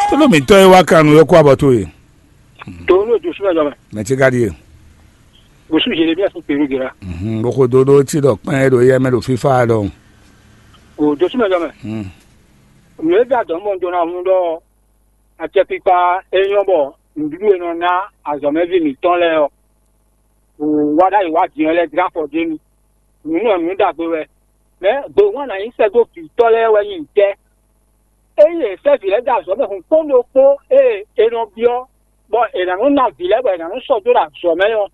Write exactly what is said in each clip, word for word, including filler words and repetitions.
Tlóló mǐtɔn e wá kan nǔ é kó abɔ towe. Dǒ nú Josua jɔ mɛ. Mɛ ce ka ɖíe. Bosú Jeremías sín Perú gera. Bó xo dó ɖó cí ɖɔ kpɛ́n e ɖo éyɛ́ mɛ ɖo fífá ɖɔhun. O Josua jɔ mɛ. Nǔ e da dɔ̌n bɔ un jɔ ná hun ɖɔ acɛkpikpa e nyɔ́ bɔ nǔɖuɖu e nɔ ná azɔ̌mɛví mǐtɔn lɛ́ɛ ɔ́, wǎ ɖ'ayǐ wá din ɔ́ lɛ́ɛ jlá afɔ dó nu. Nǔ nɔ nǔ ɖagbe wɛ. Mɛ̌ gběwán ná nyí sɛ́ dó vǐtɔ́ lɛ́ɛ wɛ nyí ntɛ́? Ényí è sɛ́ vǐ lɛ́ɛ dó azɔ̌ mɛ hun kpɔ́n ɖokpó e è nɔ byɔ́, bɔ è nǎ nɔ́ ná vǐ lɛ́ɛ bɔ è nǎ nɔ́ sɔ́ dó ɖo azɔ̌ mɛ ɔ́,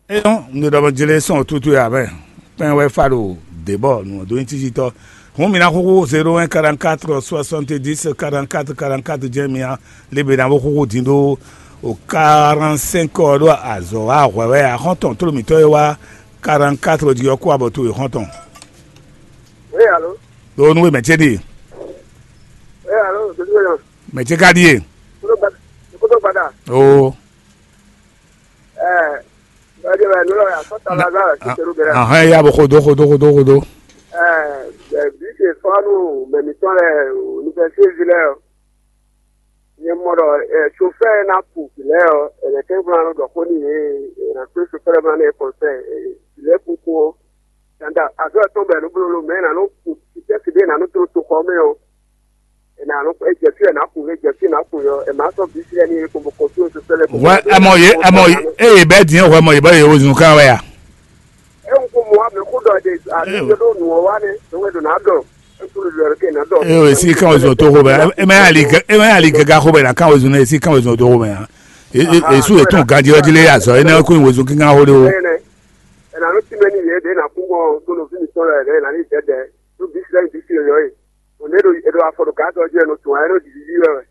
É ɔ́, un ɖo ɖɔ bɔ jlé sɔn tútú ya mɛ. Kpɛn wɛ fa ɖo dě bɔ nǔ ɔ́ dó nyí cícítɔ́. Hǔn mi ná xúxú zéro un quarante-quatre soixante-dix quarante-quatre quarante-quatre jɛ́n mi ná lé be ná bó xúxú din ɖó o quarante-cinq ɔ́ ɖó azɔ̌ wa hwɛ̌ wɛ axɔ́ntɔn tló mǐtɔn e wá quarante-quatre jí ɔ́ kú abɔ towe xɔ́ntɔn. Oui, allô? Ɖo nú we mɛ ce ɖíe. Oui, allô, c'est tout. Mɛ ce ka ɖíe. Kodo gbada. Kodo gbada. Oo. Eh, eh, eh, non, non, ça, ça va, ça va, c'est Péroguera. Ahɔn ya bɔ xodo xodo xodo xodo. Eh, eh, bi se fanu, mais mi tɔn lɛ, université ville. Nyɛ mɔ ɖɔ, eh, chauffeur na ku vilɛ ɔ, ɛnɛ kɛ bla nɔ ɖɔ xó ni yé, ɛnɛ kpé chauffeur ma ne kɔnsɛ, vilɛ kuku ɔ. Danda azɔ tɔn bɛ nu blolo mɛ na nu ku titɛ si de na nu to to xɔ mɛ ɔ. Ena nu e jɛ fi na ku e jɛ fi na ku yɔ e ma sɔ bi si ni ko ko to to sele ko. Wɛ ɛ mɔ ye ɛ mɔ ye eye bɛ diɛ wɛ mɔ ye bɛ ye o zun kan wɛ ya. E ŋku mɔ amɛ xó ɖɔ ɖe ati ɖo ɖo nǔ ɔ́ wá nɛ ɖo wɛ ɖo nǎ ɖɔ ŋku ɖo ɖɔ ke nǎ ɖɔ. Eye o esi kan o zun to xo bɛ e ma ya li e ma ya li gɛga xo bɛ na kan o zun ne esi kan o zun to xo bɛ ya. Esu etun ganji ɔji le azɔ ene ko yin wezun kinkan xo de o. Ena nu ti mɛ ni yɛ ɖe na kú mɔ to no fi mi tɔn lɛ ɖe na ni dɛdɛ to bisi lɛ bisi yɔ ye. Ò ní ɖo è ɖo afɔ ɖo gǎn tɔn jí wɛ nɔ tún wá é nɔ ɖiɖi jí wɛ wɛ.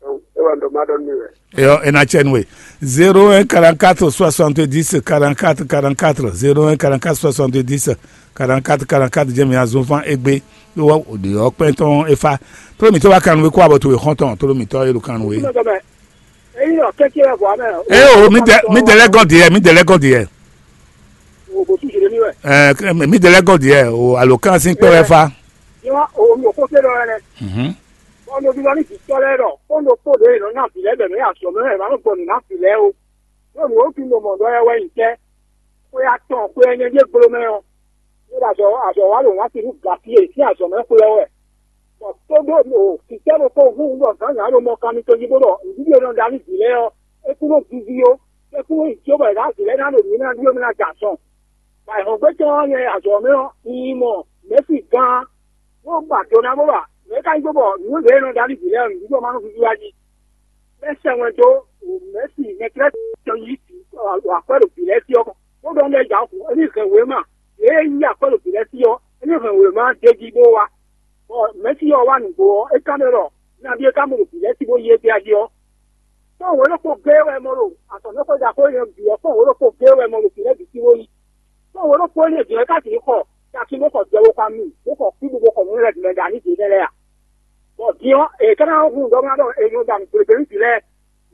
Ewɔ ŋɖɔ má ɖɔ nú mi wɛ. Eyɔ ena tsɛ nue. Zéro un quarante-quatre soixante-dix quarante-quatre quarante-quatre, zéro un quarante-quatre soixante-dix quarante-quatre quarante-quatre jɛ mi azɔn fan egbe. Ewɔ òde ɔ kpɛn tɔn efa. Tolo mi tɔ wa kanu we kó abɔ to we xɔntɔn tolo mi tɔ elu kanu we. Eyi nɔ kɛkɛ wɛ bɔ amɛ. Eye o mi dɛ mi dɛ lɛ gɔn diɛ mi dɛ lɛ gɔn diɛ. O bɔ tu jere mi wɛ. Ɛ mi dɛ lɛ gɔn diɛ o alo kan sin kpɛ wɛ fa. Yɔ o mi o ko se dɔ wɛ lɛ. Mhm. Bɔ nɔví lɔ ní vǐtɔ́ lɛ́ɛ ɖɔ kpɔ́n ɖokpó ɖě è nɔ ná vǐ lɛ́ɛ bɔ è nɔ́ yi azɔ̌ mɛ wɛ è nǎ nɔ gbɔ nǔ ná vǐ lɛ́ɛ ó. Ɖó nǔ e ví nɔ mɔ ɖɔ wɛ wɛ nyí tɛ́? Xwé atɔn xwé ɛnɛ ɖíe gblo mɛ ɔ́, é ɖo azɔ̌ azɔ̌ wa ɖo wǎn sin nú Gatíe sín azɔ̌ mɛ xwé ɔ́ wɛ. Bɔ tó ɖó o vǐtɔ́ ɖokpó hu ɖɔ zǎnzǎn ɖo mɔ kanmi tɔn jí bó ɖɔ nǔɖuɖu e nɔ ɖa nú vǐ lɛ́ɛ ɔ́, é kún nɔ víví ó, é kún nɔ yi jó bɔ è nǎ vǐ lɛ́ɛ ná ɖo nǔ ná ɖú é ná jɛ azɔn. Bɔ ayǐhɔ́ngbe tɔn ɔ́ nyɛ azɔ̌ mɛ ɔ́, un yi mɔ Mɛ̌si gán, bó ba do ná bó ba. Mɛ̌ ka nyí gbé bɔ nǔ e nɔ ɖa nú vǐ lɛ́ɛ ɔ́, nǔɖuɖu ɔ́ ma nɔ víví wá jí? Bɛ́ sɛ wɛn dó Mɛ̌si mɛtlɛ́ tɔn yí vǐ akwɛ́ ɖo vǐ lɛ́ɛ sí ɔ́ kɔn, bó ɖɔ nú ɛ jǎ xu, émí hɛn wěma, yě e yí akwɛ́ ɖo vǐ lɛ́ɛ sí ɔ́, émí hɛn wěma d'é jí bó wá. Bɔ Mɛ̌si ɔ́ wá nǔgbó ɔ́, é ka ɖɔ ɖɔ nabí é ka mɔ ɖo vǐ lɛ́ɛ sí bó yí égbé jí ɔ́, kpɔ́n wǒ ɖokpó géé wɛ mɔ ɖo azɔ̌mɛxwé ɖaxó énɛ́ bǐ ɔ́, kpɔ́n wǒ ɖokpó géé wɛ mɔ ɖo vǐ lɛ́ɛ bǐ sí bó yí. Kpɔ́n wǒ ɖokpó énɛ́ bǐ wɛ ká sixú xɔ takin bó xɔ jɛ bó xɔ ami, bó xɔ kú bó xɔ nǔ lɛ́ɛ bǐ mɛ ɖo aní ɖě lɛ́ɛ a? Bɔ din ɔ́, è ka ná hun ɖɔ ná ɖɔ è nɔ ɖa nǔgblégbé nú vǐ lɛ́ɛ.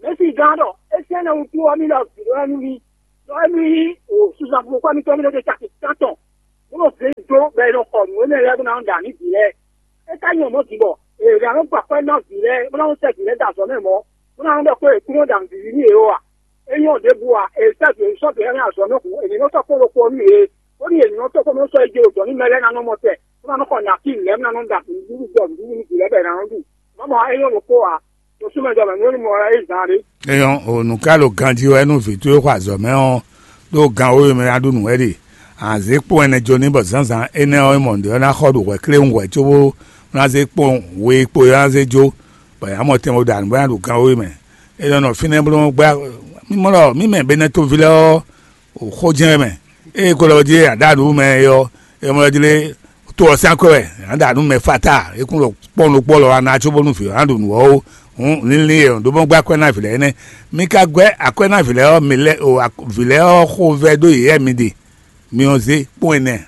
Mɛ̌si gán ɖɔ é sɛ́n ɛnɛ wútu ɔ́, mì ɖɔ vǐ lɛ́ɛ nú mì, ɖɔ émí yí suza fofó mitɔn mì ɖo ɖe caki tántɔn, bó nɔ zé dó bɔ è nɔ xɔ nǔ énɛ́ lɛ́ɛ bó ná nɔ ɖa nǔ bǐ lɛ́ɛ. É ka nyí mɔ̌ din bɔ è nǎ nɔ gba akwɛ́ ná vǐ lɛ́ɛ, bó ná nɔ sɛ́ vǐ lɛ́ɛ dó azɔ̌ mɛ mɔ̌, bó ná nɔ ɖɔ xó è kún nɔ ɖa nǔ vǐví nú yě ó a? É nyɔ́ ɖěbǔ a? È sɛ́ vǐ sɔ́ vǐ lɛ́ɛ ná azɔ̌ mɛ hǔn, è ní nɔ sɔ́ kpó ɖokpó nú yě, bónú yě ní nɔ sɔ́ kpó nɔ sɔ́ é jɛ ɖo dɔ̌n nú mɛ lɛ́ɛ ná nɔ mɔ tɛ, bó ná nɔ xɔ nǎkí lɛ́ɛ bó ná nɔ ɖa nǔɖuɖu jɔ nǔɖuɖu nú vǐ lɛ́ɛ bɔ è nǎ nɔ ɖu. Má mɔ é nyɔ́ ɖokpó a? Tosúmɛjɔmɛ nú ní mɔ wɛ é zán ɖé. Eyɔn o nǔ ka ɖo ganjí wɛ nú vǐ towe xɔ azɔ̌ mɛ ɔ́, ɖó gan wéwe mɛ ná ɖu nǔ wɛ ɖe. Anzě kpɔ́n ɛnɛ jó ní bɔ zǎnzǎn énɛ́ ɔ́, é mɔ nǔɖé ɔ́ ná xɔ ɖo hwɛ kléwún hwɛ cóbó ná zé kpɔ́n we kpo é ná zé jó, bɔ yě ná mɔ tɛn bó ɖo nǔ bó ná ɖu gan wéwe mɛ. É nɔ nɔ fínɛ́ bló gbá mímɔ ɖɔ mí mɛ Benɛtoví lɛ́ɛ ɔ́, o xó jɛ́n wɛ mɛ. Ée ko lɔ jí a ɖǎ nǔ mɛ é ɔ́, é mɔ jlé to ɔ́ sín akwɛ́ wɛ, a ɖǎ nǔ mɛ fata, é kún ɖo kpɔ́n ɖokpó lɔ wá ná có bónú vǐ ɔ́ ná ɖu nǔ ɔ́ ó. Hǔn lílín e ɖó bó gbɛ́ akwɛ́ ná vǐ lɛ́ɛ énɛ́. Mi ka gbɛ́ akwɛ́ ná vǐ lɛ́ɛ ɔ́, mi lɛ́ o vǐ lɛ́ɛ ɔ́ xovɛ́ ɖó yě wɛ mi ɖe. Mi ɔ́ zé kpɔ́n ɛnɛ.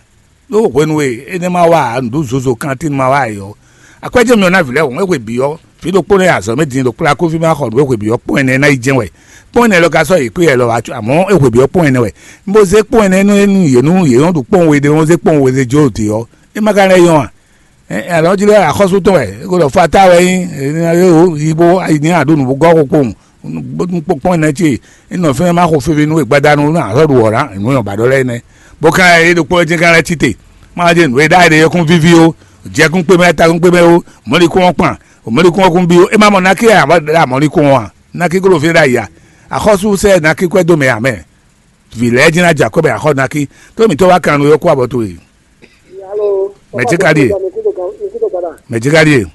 Ɖó hwenu e énɛ́ ma wa ǎ, nǔɖuɖu zozo kantín ma wa ǎ é ɔ́, akwɛ́ jɛ́n mi ɔ́ ná vǐ lɛ́ɛ hǔn é hwe bǐ ɔ́, vǐ ɖokpó lɛ́ɛ azɔ̌ mɛ din ɖo kplá kófí ma xɔ nǔ é hwe bǐ ɔ́ kpɔ́n ɛnɛ ná yi jɛ́n wɛ. Kpɔ́n ɛnɛ lɔ ka sɔ́ yě kplé yɛ lɔ wá có, amɔ̌ é hwe bǐ ɔ́ kpɔ́n ɛnɛ wɛ. Un bo zé kpɔ́n ɛnɛ nú é nú yě nú yě nɔ ɖu kpɔ́n we ɖé nɔ́ zé kpɔ́n we zé jó ɖě ɔ́, é ma ka lɛ́ nyɔ́ a? Alɔ́ jí lɛ́ axɔ́sú tɔn wɛ é ko ɖɔ fata wɛ nyí. Yibo ayi ní aɖó nǔ bó gɔ́ xo kpowun. Kpɔ́n nɛ́ ce é nɔ fɛ́n má xo feve nú e gbadanu ná axɔ́ ɖu wɔ̌ ná nǔ nyɔ̌ba ɖɔ lɛ́ɛ nɛ́. Bó ka é ɖokpó é jɛ́n ka lɛ́ cí te. Má jɛ nǔ e ɖ'ayǐ ɖe yɛ́kún víví ó, jɛkún kpé mɛ, takún kpé mɛ ó, mɔ̌likún ɔ́ kpan, mɔ̌likún ɔ́ kún bí ó. É má mɔ nákí ǎ, mɔ̌likún ɔ́ ǎ. Nákí kó ɖo fí ɖ'ayǐ ǎ. Axɔ́sú sɛ́ nákí kwɛ́ dó mɛ ǎ mɛ. Vǐ lɛ́ɛ jɛ́n ná jɛ akɔ́ bɛ axɔ́ ná kí, tó mǐtɔn wá kan nú yɔ́ kú abɔ towe. Mɛ̌ ce ka ɖíe? Mɛ̌ ce ka ɖíe?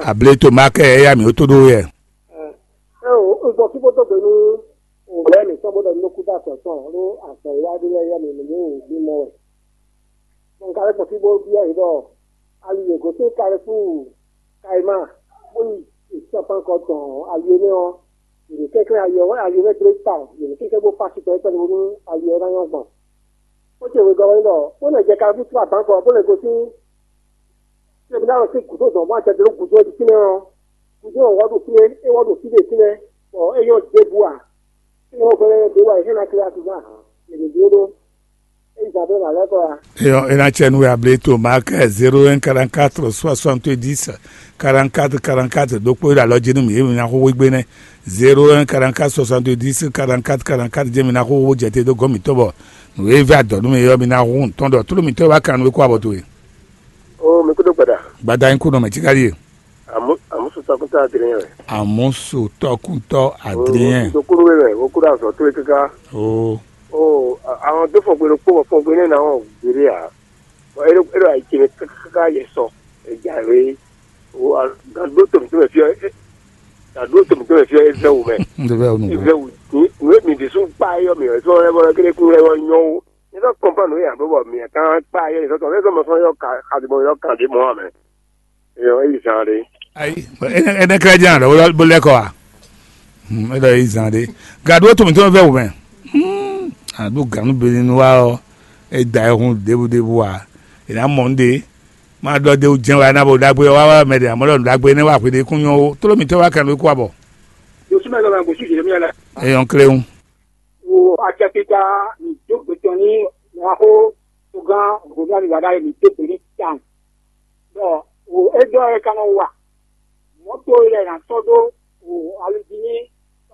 Able to ma kɛ ɛ yá mǐ ó tó ɖó yɛ. Ɛ o, un gbɔ fí bó dó gbe nú òwúrẹ́ mǐtɔn bó ɖɔ nú kúdó azɔ̌ tɔn ɖó azɔ̌ e wá ɖó lɛ́ɛ yá mǐ mǐ ní wǔ mɔ wɛ. Bɔ un ka lɛ́ gbɔ fí bó byɔ́ yě ɖɔ ali e gosín Kalɛfúu Kayima bó yi Sɛ́npankɔ tɔn ali énɛ́ ɔ́, yě ní kɛnklɛ́n ali ɔ́, ali ɔ́ wɛ dlé tawun, yě ní kɛnklɛ́n bó fá sukpɛ́ kpɛɖé bónú ali ɔ́ ná nyɔ́ gbɔn. Xó ce wegɔ́ wɛ nyí ɖɔ bó nɔ jɛ Kalɛfúu Sɛ́npankɔ bó lɛ́ gosín Sɛ́npankɔ sín gǔdo dɔn bó ná jɛ dó gǔdo ɔ́ jí fínɛ́ ɔ́, gǔdo ɔ́ wɔ ɖo fínɛ́, é wɔ ɖo fí ɖé fínɛ́, bɔ é nyɔ́ ɖěbǔ ǎ. Fínɛ́ ɔ́ hwɛ́ ɖé wá yě hɛn ná klé asúgbán, yě ní bló ɖó. Eyɔ, e na cɛ nú we able to mark zéro un quarante quatre soixante dix quarante quatre quarante quatre ɖokpó e ɖo alɔ jí nú mì, e mi ná xó wé gbé nɛ́. Zéro un quarante quatre soixante dix quarante quatre quarante quatre jɛ mi ná xó wó jɛ te dó gɔ́n mǐtɔn bɔ nǔ e vɛ́ adɔ̌ nú mi ɔ́, mi ná xó ntɔn ɖɔ tló mǐtɔn wá kan nú we kó abɔ towe. O mi kúdó gbada. Gbada nyí kú nɔ mɛ tíkáli e. Àmúsùtɔkùntɔ Adrien wɛ. Àmúsùtɔkùntɔ Adrien. Dokúnú wé wɛ, wokúɖo azɔ tó wé káká. Oo. O àwọn tó fɔgbe ɖokpó bɔ fɔgbe nɛ́ ná wɔn gbéɖé ǎ. Bɔ é ɖo é ɖo ayi ce mɛ káká yɛ sɔ. Ejǎwe. O gǎn ɖó tɔmǐtɔmɛ fí ɔ́, gǎn ɖó tɔmǐtɔmɛ fí ɔ́ é vɛ́ wǔ mɛ. Ndé bɛ wonu. É vɛ́ wǔ. Nǔ e mǐ ɖésú kpá yɔ mǐ wɛ sɔ lɛ́ bɔ kéré kún lɛ́ wɔ nyɔ ó. Nyɛ sɔ kɔnpɔn nǔ e ǎ bó bɔ mǐ kan kpá yɔ nyɛ sɔ tɔn fɛ́ sɔ mɔ sɔ yɔ ka xadimɔ yɔ kan ɖě mɔ ǎ mɛ. Eyɔ é yi zan ɖé. Ayi, ɛnɛ kɛlɛ jɛn alɔ bó lɛ kɔ wa. Hmm, é ɖɔ é yi zan ɖé. Gadu ó tún mi tún fẹ́ wò mɛ. Hmm, àdó ganu beni nu wa ɔ, é da ɛ hun ɖěbúɖébú wa. È nǎ mɔ nú ɖe. Má ɖɔ ɖe jɛn wa ná bo ɖagbe wa wa mɛ ɖe àmọ́ ɖɔ ɖagbe nɛ wa hwe ɖe kún nyɔ ó. Tló mi tɛ wa kan ló kó abɔ. Yosúmɛ lɔ ma gosú Jeremia la. Eyɔn kléwún. Wo acɛkpikpa ní dó gbetɔn ní Mwaxó togán Gomíali wǎ ɖ'ayǐ mǐ dó gbe ní tawun. Bɔ wò é ɖɔ é ka nɔ wa mɔ̌to e lɛ nǎ sɔ́ ɖó wò ali jí ní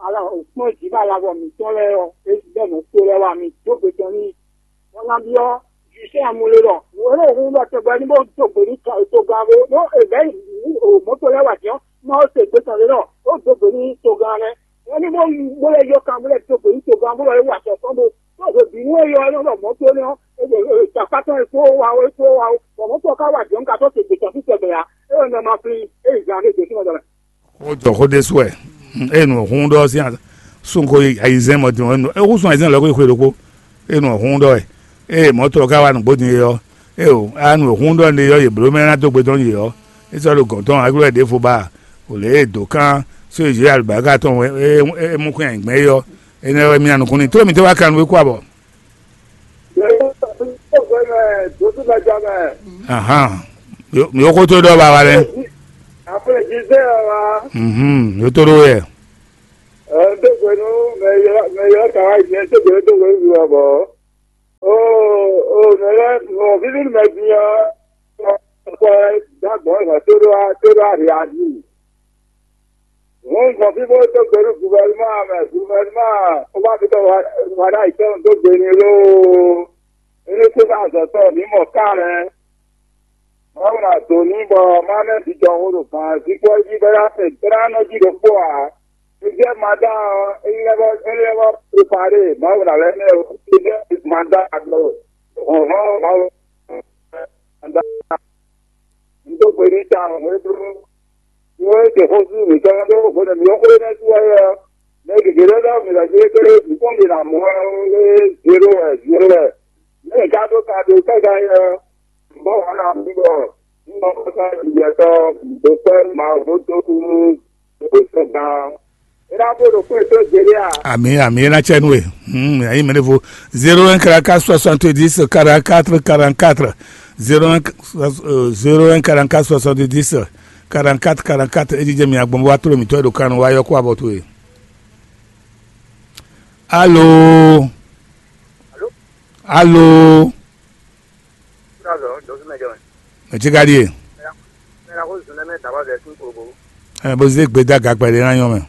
ala òkpɔ́n jǐ bɔ alavɔ mǐtɔn lɛ́ɛ ɔ́, é bɛ́ mɔ̌to lɛ́ɛ wá mì dó gbe tɔn n'i. Bɔ nabí ɔ́, Jwisɛ́ Amulé ɖɔ wò é ɖo hun ɖɔ tɔgbɛ ní bó dó gbe ní togán bó ɖó è bɛ̌ mɔ̌to lɛ́ɛ wá jǐ ɔ́, má ó se gbe tɔn lé ɖɔ ó dó gbe ní togán lɛ́ɛ. Wọ́n ní bó bó lɛ yɔ kan bó lɛ dó gbe ní togán bó lɛ wá sɔ kɔn bó tó hwe bǐ nú é yɔ é nɔ ɖɔ mɔ̌ tó nɛ́ ɔ́, é ɖo tafá tɔn é kpó wá ó é kpó wá ó. Bɔ mɔ̌ tó ɔ́ ka wá jɔ̌n ka tó te gbětɔ́ fí tɛgbɛ ǎ. É wɔ nɔ ma flin é yi zan ɖé gbětɔ́ mɛ. Xó jɔ xó ɖésú wɛ. Eye nǔ hún ɖɔ sín sunko ayizɛ́n mɔ din é hú sun ayizɛ́n lɔ xwé xwé ɖokpó. Eye nǔ hún ɖɔ wɛ. Eye mɔ̌ tó ɔ́ ka wá nǔgbó din é ɔ́, eye o a nǔ hún ɖɔ ne ɔ́ yě bló mɛ ná dó gbe tɔn yě ɔ́, é sɔ́ ɖo gɔ̌n tɔn agló wɛ ɖěvo ba. Wǒ lě e dǒ kán só e zě alubáka tɔn é mú kɔn nyi gbɛn é ɔ́, énɛ́ wɛ mía nukún ní tló mǐtɔn wá kan nú é kú abɔ. Ahan. Yo- mi yo xótó ɖɔ ba wa lɛ. Après, je sais, euh, Mhm. Yo tó ɖó yɛ. Euh, deux fois, non, mais il y a, mais il y a travail, bien sûr, que deux fois, il y a bon. Oh, oh, mais là, mon fils, il m'a dit, euh, quoi, d'accord, il m'a tout droit, tout droit réagi. Hǔn gbɔn fí bó dó gbe nú guvɛlúmá mɛ, guvɛlúmá ó wá fi tɔn wá ɖo ayǐtɔn dó gbe n'i lóó. Énɛ́ kpó ná azɔ̌ tɔn mǐ mɔ ká lɛ́ɛ. Mawu ná dǒ n'i bɔ má mɛ vijɔ xó ɖo gǎn jí kpɔ́ jí bɔ é ná se é ná nɔ jí ɖokpó ǎ. Josɛ́f Madan ɔ́, é lɛ́ vɔ é lɛ́ vɔ prepare Mawu ná lɛ́ mɛ Josɛ́f Madan ɖo hlɔ̌nhlɔ́n Mawu. Un dó gbe n'i tawun hwebǐnu. Nú é ɖe xósú mǐtɔn ɖó hwenu mǐ xó énɛ́ sú wɛ ɔ́, mɛ gěgé lɛ́ɛ ɖɔ mǐ lɛ́ jlé kéré mǐ kpɔ́n mǐ ná mɔ ɔ́, é zéro wɛ, zéro wɛ. Nú mǐ ka ɖó ka ɖo káká é ɔ́, mǐ bɔ wǎ ná mǐ bɔ mǐ mɔ xósá jijɛtɔ́ dó kpɛ́ Mawu dó kú nú Ami, ami, ena cɛ nue. Hmm, ayi mene vo. Zéro un quarante-quatre soixante-dix quarante-quatre quarante-quatre. Zéro un, euh, zéro un quarante-quatre soixante-dix quarante-quatre quarante-quatre. Edidze mi agbɔn wa tro mi tɔ do kanu wa yɔ ko abɔ to e. Allô. Allô. Azɔ dɔsumɛ jɔ mɛ. Mɛ tsi ka ɖie? Mɛ la ko zun nɛ mɛ daba zɛ sin kolobo. Ɛ bó zé gbe dá gagbɛ ɖé ná nyɔ mɛ.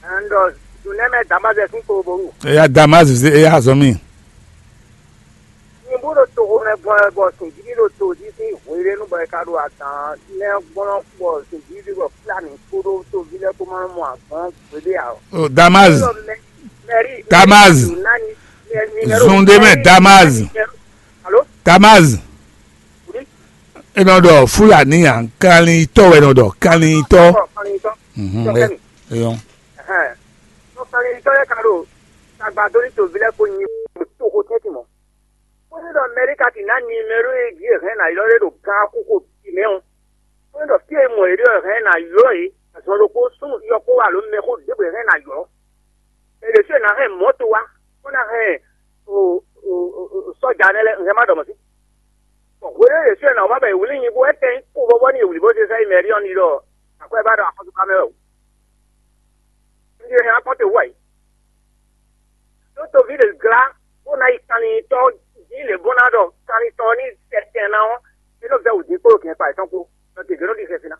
Ɛn dɔ zun nɛ mɛ daba zɛ sin kolobo. Eya Damas zé eya azɔ mi. Nyi bó ɖo toxo mɛ gbɔn ɛ bɔ sin jí ɖo to jí sín hweɖénu bɔ ɛ ka ɖo adǎn nɛ gbɔn bɔ sin jí ɖi bɔ Fúlàní kpódó toví lɛ́ɛ kó má mɔ azɔn gbeɖé ǎ. O Damas. Mɛri Damas. Zun ɖé mɛ Damas. Alo. Damas. Enɔ ɖɔ Fulani a, kanlintɔ wɛ nɔ ɖɔ, kanlintɔ. Mhm, e- eyɔn. Tɔkanlintɔ yɛ ka ɖo tagba dó ní toví lɛ́ɛ kó nyi toxo tɛ́ntin mɔ̌. Bó ní ɖɔ Mɛríka ti ná nimero e jí è hɛn ná ylɔ́ ɖé ɖo gan kókó bǐ mɛ ɔ́, bó ní ɖɔ fí e mɔ yě ɖe ɔ́ hɛn ná ylɔ́ yě azɔn ɖokpó súnnu yɔkpó alo mɛxó ɖěbǔ e hɛn ná ylɔ́. È ɖě sú è nǎ hɛn mɔ̌to wá, bó ná hɛn o- o- o- o- sɔ́ja nɛ́ lɛ́ɛ, un hɛn má ɖɔ mɔ̌ sí. Bɔ hwenu e Jezu ná wá bɔ è wlí nyi bó wɛ tɛn kó vɔvɔ n'i è wlǐ bó zé sɛ́ yi mɛ ɖíɔ́ n'i ɖɔ akwɛ́ ba ɖɔ axɔ́súká mɛ wɛ o. Un ɖi hɛn akɔ́nte wú ayǐ. Ɖó toví ɖě glá bó ná yi kanlintɔ́ jí lě bó ná ɖɔ kanlintɔ́ ní tɛtɛn ná ɔ́, é nɔ vɛ́ wǔ dín kpó ɖo kɛ̌nkpa yětɔn kpó, ɖɔ gěgé nɔ ɖi xɛsi ná.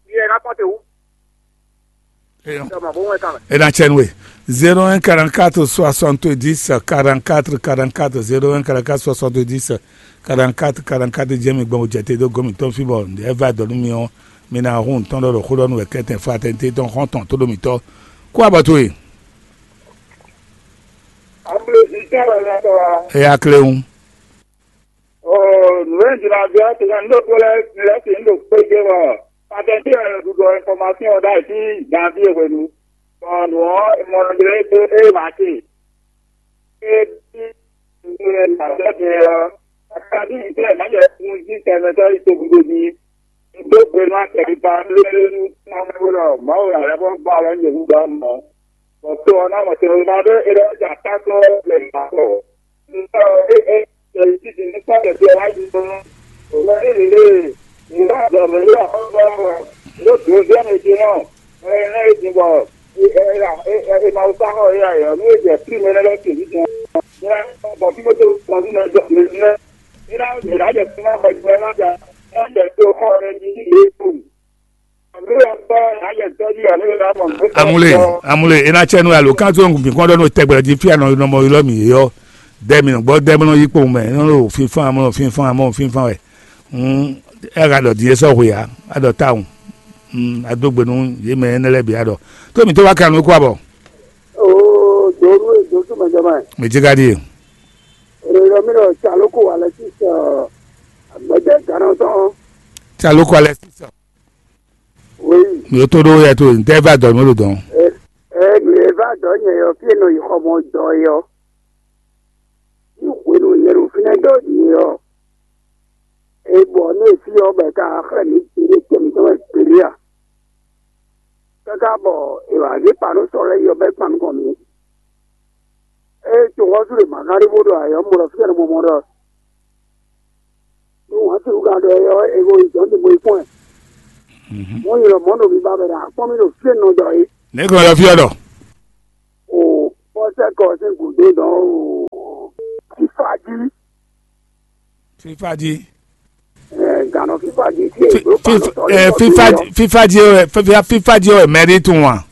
Ɖi hɛn akɔ́nte wú. Eyɔn. Ɖɔ mɔ bó wɛn kan mɛ. E na cɛ nú we. Zéro un quarante-quatre soixante-dix quarante-quatre quarante-quatre, zéro un quarante-quatre soixante-dix quarante-quatre quarante-quatre jɛ́n mi gbɔn jɛ te dó gɔ́ mǐtɔn fí bɔ ɛ va dɔ nú mi ɔ́, mi ná hun tɔn ɖɔ ɖo xó ɖɔ nú wɛ kɛ́tɛn fún atɛnté tɔn xɔ́ntɔn tó ɖo mǐtɔn. Kú abɔ towe. Amúlezítɔ́ wɛ lɛ́ tɔ́ wa. Eya kléwún. Oo, nǔ e un jló ná ɖɔ ɔ́, tɛnmɛ un ɖo kpó lɛ́ɛ lɛ́ɛ sin un ɖo kpé gé bɔ patɛnti wɛ ɖuɖu ɛnfɔmasíɔn ɔ́ ɖ'ayǐ sín ganví e hwenu, bɔ nǔ ɔ́, è mɔ nɔ jló é dó é ma ce. É bí nǔ e nǎ sɛ́ din ɔ́, akábí nyǐkɔ ɛ má jɛ kún jí tɛnmɛ sɔ́ yi togun dó jí. Un dó gbe nú akɛkpa lélé nú Mawu ɖɔ Mawu ná lɛ́ vɔ́ gbɔ alɔ nyɛ wú ɖɔ mɔ̌. Bɔ to ɔ́ ná mɔ tɛnmɛ ɖé é ɖɔ ja tántɔ́ lɛ nǎ kɔ. Un ɖɔ é é tɛlifísi ní kpɔ́n tɛtɛ wá yi nú. Mɛ ní lě lě, nǔ ná zɔ mɛ ní axɔ́sú ɔ́, nú dǒzɛ́ mɛ ce nɔ, ɛ ɛ é din bɔ è ma wú sá xɔ é ǎ é ɔ́, nú é jɛ plí mɛ lɛ́ɛ lɛ́ɛ ce ní din ɔ́, bɔ fí mɛ tó kɔn fí mɛ jɔ mɛ ní lɛ́ɛ. Amule, amule, e na cɛ nu alo kan to ngun bi kɔn dɔ no tɛgbɛ ji fia nɔ nɔ mɔ ylɔ mi yɔ dɛ mi nɔ gbɔ dɛ mi nɔ yi kpowun mɛ nɔ lo finfan amɔ finfan amɔ finfan wɛ. Hmm, e ka dɔ die sɔ hwe ya, a dɔ tawun. Hmm, a do gbe nu ye mɛ ne lɛ bi a dɔ. To mi to wa kan nu ko abɔ. Oo, donu e dosu mɛ jama. Mi ji ka di. Èrè lɔ mi lɔ tsa lóko alɛ sísè agbɛdɛ gánà tɔn. Tsa lóko alɛ sísè. Oui. Mi o to ɖo yɛ to ntɛ va dɔ mi ɖo dɔn. Ɛ ɛ mi e va dɔ nyɛ yɔ fí e nɔ yi xɔ mɔ dɔ yɔ. Ní hwenu nyɛ ɖo fínɛ́ dɔ nyɛ yɔ. E bɔ ní e fí ɔ́ bɛ ka xlɛ́ mi ti ɖé tɛ́ mitɔn wɛ kpéɖé a? Káká bɔ è wǎ zé kpa nú sɔ lɛ́ɛ yi ɔ́ bɔ é kpan nukɔn mǐ. Ée toxɔ́sú ɖe mǎ ká ɖé bó ɖo ayɔ̌ mɔ ɖɔ fí tɛ́ nɔ mɔ mɔ ɖɔ nú wǎn sixú ka ɖɔ é ɔ́, è ko yi jɔ̌n ɖi mo yi kpɔ́n ɛ. Mɔ̌ nyi lɔ mɔ̌ ɖo mi ba mɛ ɖo akpɔ́n mì ɖo fí e nɔ ɖɔ é. Nɛ̌ glɔ́ ɖɔ fí ɔ́ ɖɔ? O pɔ́sɛ́kɔ sín gǔdo dɔn o fífá jí. Fífá jí. Ɛ gǎnɔ fífá jí tí Fi- èdè ó fifa- pàlọ́ sɔ ɛ, lé fífa yɔ. Fífa jí wɛ fífa fífa jí wɛ mɛɖi tún wa.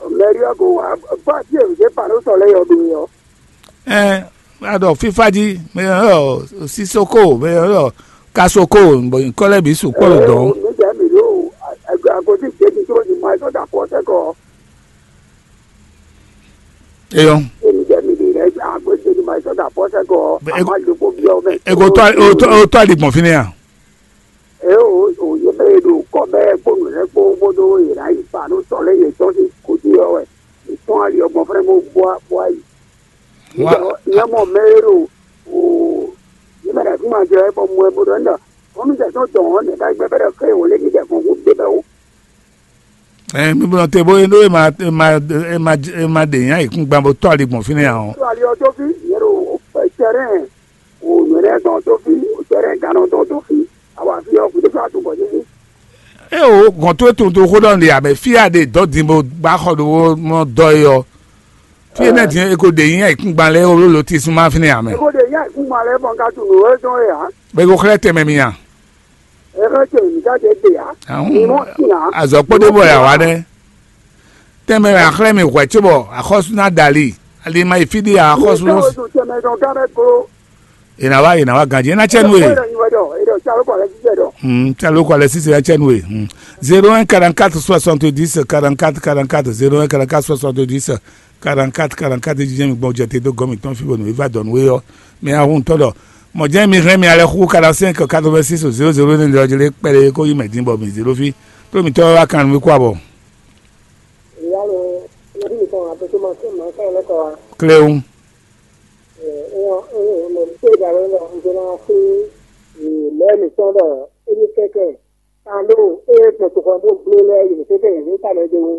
Mɛɖi ɔ́ ko wá fá tí èdè pàlọ́ sɔ lé yɔ ɖo yɔ. Ɛ, adɔ fífa jí mɛ ɔ sisoko mɛ ɔ kasoko bɔ nkɔlɛ bi su kpɔlɔ dɔn. Nígbà mi ló àgọ́tí ìgbésí tó ti mọ ẹjọ́ dàpọ̀ sẹ́kọ̀ọ́. Eyɔn. Èmi jẹ́ mi lè rẹ́ àgọ́tí tó ti mọ ẹjọ́ dàpọ̀ sẹ́kọ̀ọ́. Bɛ- Àmọ́ àjòkó bí ọmọ ẹ̀. Ego tɔ o tɔ o tɔ aligbɔn fi ne ya. Eo òye bɛ ɖo kɔ bɛ kpónú lɛ kpó bódó yě ná yi pa nú sɔlé yětɔn sín kúdí ɔ́ wɛ. Ìtɔn ali ọgbọ̀n fúnra mọ́ bó bó ayi. Wá. Ìyẹn mọ̀ mẹ́ èrò o yìí mẹ́ta fún ma jẹ ẹ bọ́ mú ẹ bódó ẹ̀ ń dà. Wọ́n mi tẹ̀ tó tọ̀ wọ́n nìkan gbẹ bẹ́rẹ̀ fẹ́ ìwọlé mi tẹ̀ fún kú dé bẹ́ẹ̀ o. Ɛ mi bɔ te bo eno e ma e ma e ma e ma ɖe nya yi kún gban bo tɔ ali gbɔn fínɛ́ ǎ ɔ́. Tó ali ɔ́ tó fí, yě ɖo tɛrɛn wò nyɔ̌ɖɛ tɔn tó fí, tɛrɛn gannɔ tɔn tó fí, awa fí ɔ́ kúndé fún atun bɔ yíyí. E o gɔn tó tun tó xó ɖɔ nɖe amɛ fí a ɖe dɔ din bo gba xɔ ɖo mɔ dɔ yi ɔ. Fí énɛ́ din é ko ɖe nyí ayǐkúngban lɛ́ɛ ó ló ti súnmá fínɛ́ ǎ mɛ. É ko ɖe nyí ayǐkúngban lɛ́ɛ bɔ un ka tunwun nǔ e tɔn é ǎ. Bɔ é ko xlɛ́ tɛnmɛ mi a? É xlɛ́ tɛnmɛ mi ka ɖe gbe ǎ. Ahún, Mi mɔ sin ǎ. Azɔ̌ kpódó bɔ yà wá nɛ́. Tɛnmɛ wɛ a xlɛ́ mi hwɛ̌ cóbɔ axɔ́sú ná da ali. Ali ma yi fí ɖé axɔ́sú Mi ná. Tɔn e ɖo tɛnmɛ dɔn gán mɛ klo. È nǎ wá, è nǎ wá ganjí, é ná cɛ nú e. Caloko alɛ sísè ná cɛ nú e. Zéro un quarante-quatre soixante-dix quarante-quatre quarante-quatre, zéro un quarante-quatre soixante-dix quarante-quatre quarante-quatre, jíjɛ mi gbɔn jɛ te dó gɔ́ mǐtɔn fí bɔ nǔ e va dɔ nú we ɔ́, mi ahun tɔn ɖɔ mɔ̌ jɛ́n mi hɛn mi alɛ xú quarante-cinq quatre-vingt-six zéro zéro énɛ́ ɖɔ jlé kpɛɖé kó yi mɛ dín bɔ mi zéro fí tó mǐtɔn wá kan nú mi kó abɔ. Ìyá mi, ẹbí mi kan àti tó máa tó máa ń sọ̀rọ̀ lọ́kọ̀ wa. Cléon. Èèyàn èèyàn mọ̀ ní pé ìgbà wo lọ ń gbéná sí ìlú ẹ̀mí tán lọ émi kẹ́kẹ́ ta ló é gbọ̀n tó kọ́ bó gbé lọ ẹ̀yìn tó tẹ̀yìn ní ìtàlẹ̀ ẹgbẹ́ wo.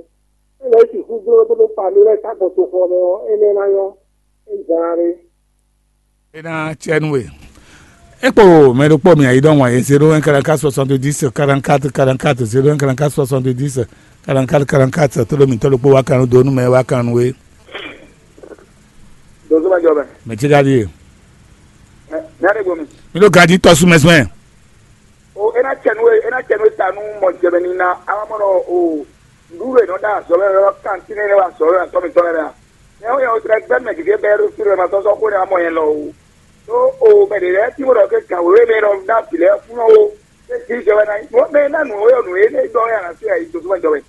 Ẹ lọ sì kú gbé tó ló pa mí lọ sábọ̀ tó kọ́ lọ ẹ lẹ́ ná yọ ẹ gbọ́n rẹ. É ná cɛ nú we. É kpo mɛ ɖokpó mi ayǐ ɖɔhun ayé zéro un quarante-quatre soixante-dix quarante-quatre quarante-quatre, zéro un quarante-quatre soixante-dix quarante-quatre quarante-quatre, tó ló mǐtɔn ɖokpó wá kan nú dó nú mɛ wá kan nú we. Dozuma jɔ bɛ. Mɛ ce ka ɖíe. Mɛ ne gbomi. Mi ɖo ganjí tɔ́sú mɛ sɛn. O e na cɛ nu e e na cɛ nu e ta nu mɔ jɛmɛ ni na awa mɔ nɔ o ndu e nɔ da azɔ lɛ lɔ kantin ne wa azɔ lɛ atɔ mi tɔ lɛ la. Mɛ o yɛ o tɛ gbɛ mɛ gege bɛ ɖo fi lɛ ma sɔsɔ ko ne amɔ yɛn lɔ o. To o mɛ de lɛ ti mo dɔ ke gan wewe mɛ lɔ da bi lɛ fun o. E ti jɛ wɛ na mo mɛ na nu o yɔ nu e ne dɔ ya na se ayi dozuma jɔ wɛ.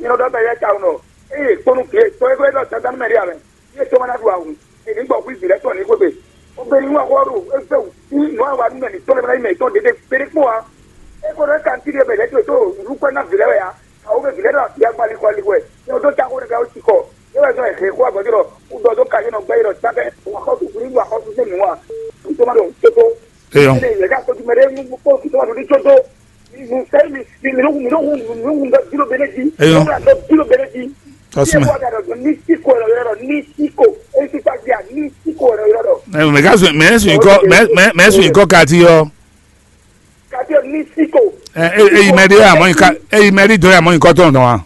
Nyɛ ɖɔ bɛ yɛ ta nɔ. Eye kpɔnu ke tɔ e ko e dɔ tata mɛ de amɛ. Ye tɔmɔ na ɖu awu. Eni gbɔ kú ibi lɛ tɔ ni xwegbe. O be ni wa xɔ ɖo egbe wu. Ni nɔ wa nu mɛ ni tɔ le mɛ ni mɛ tɔ dede bere kpɔ wa. E ko ɖo kan ti de bɛ lɛ to to nu kɔ na vi lɛ wɛ ya. Awo be vi lɛ ɖo ya gbali kɔ li wɛ. Ye o do ta ko ne ka o ti kɔ. Ye wɛ zɔn e he ko agbɔjɔ ɖɔ. U dɔ do ka ye nɔ gbɛ ye ɖɔ ta kɛ. Wa xɔ tu ni wa xɔ tu se nu wa. Tɔmɔ ɖo toto. Eyɔn. Ene ye ka ko tu mɛ de nu ko tɔmɔ ɖo ni toto. Eyɔn. Tɔsumɛ. Ɛɛ, mɛ ka sɔn mɛ sɔn ikɔ mɛ mɛ sɔn ikɔ kati yɔ. Ɛ, ɛ, eyi mɛ ɖe yà mɔ nyika eyi mɛ ɖe dɔ yà mɔ nyikɔ tɔn dɔn wa.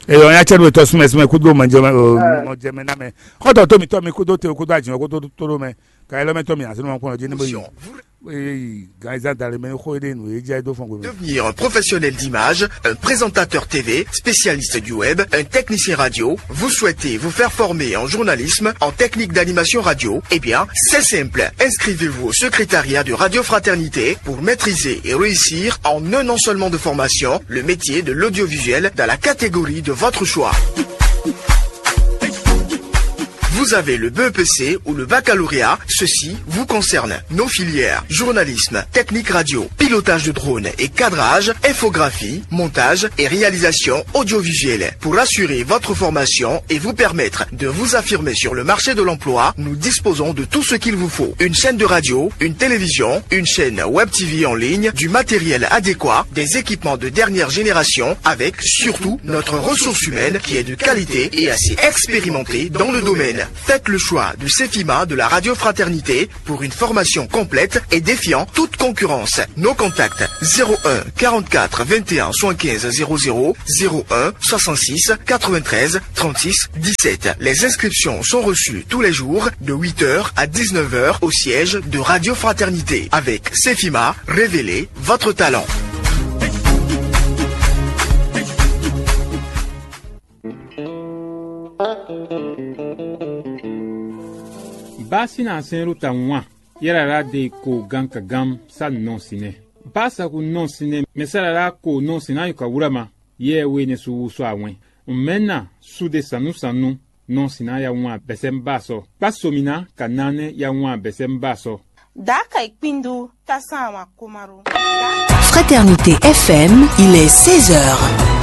Eyɔn ya cɛ do tɔsumɛ sumɛ kudo mɔ jɛmɛ mɔ jɛmɛ namɛ. Kɔtɔ to mi tɔ mi kudo te kudo ajin kudo toro mɛ. Ka yɛlɛmɛ tɔ mi asinu ma kpɔn jɛ ne bo yi. Eyi gan eza dali mɛ xo ɖe nu e jɛ do fɔn gbe. Devenir un professionnel d'image, un présentateur T V, spécialiste du web, un technicien radio. Vous souhaitez vous faire former en journalisme, en technique d'animation radio ? Eh bien, c'est simple. Inscrivez-vous au secrétariat de Radio Fraternité pour maîtriser et réussir en un an seulement de formation le métier de l'audiovisuel dans la catégorie de votre choix. Vous avez le B E P C ou le baccalauréat, ceci vous concerne. Nos filières, journalisme, technique radio, pilotage de drone et cadrage, infographie, montage et réalisation audiovisuelle. Pour assurer votre formation et vous permettre de vous affirmer sur le marché de l'emploi, nous disposons de tout ce qu'il vous faut. Une chaîne de radio, une télévision, une chaîne web T V en ligne, du matériel adéquat, des équipements de dernière génération, avec surtout notre ressource humaine qui est de qualité et assez expérimentée dans le domaine. Faites le choix de Cefima de la Radio Fraternité pour une formation complète et défiant toute concurrence. Nos contacts : zéro un quarante-quatre vingt et un soixante-quinze zéro zéro, zéro un soixante-six quatre-vingt-treize trente-six dix-sept. Les inscriptions sont reçues tous les jours de huit heures à dix-neuf heures au siège de Radio Fraternité. Avec Cefima, révélez votre talent. Basi na sɛn ruta wan yɛrɛ la de ko gan ka gam sa nɔ sinɛ. Basa ku nɔ sinɛ mɛ sa la ko nɔ sinɛ ayo ka wura ma. Yɛ we ne su wu sɔ awɛn. Mɛ na su de sanu sanu nɔ sinɛ ya wan bɛsɛ ba sɔ. Kpa so mi na ka na ne ya wan bɛsɛ ba sɔ. Daa ka yi kpindu ta san awan komaro. Fraternité F M, il est seize heures.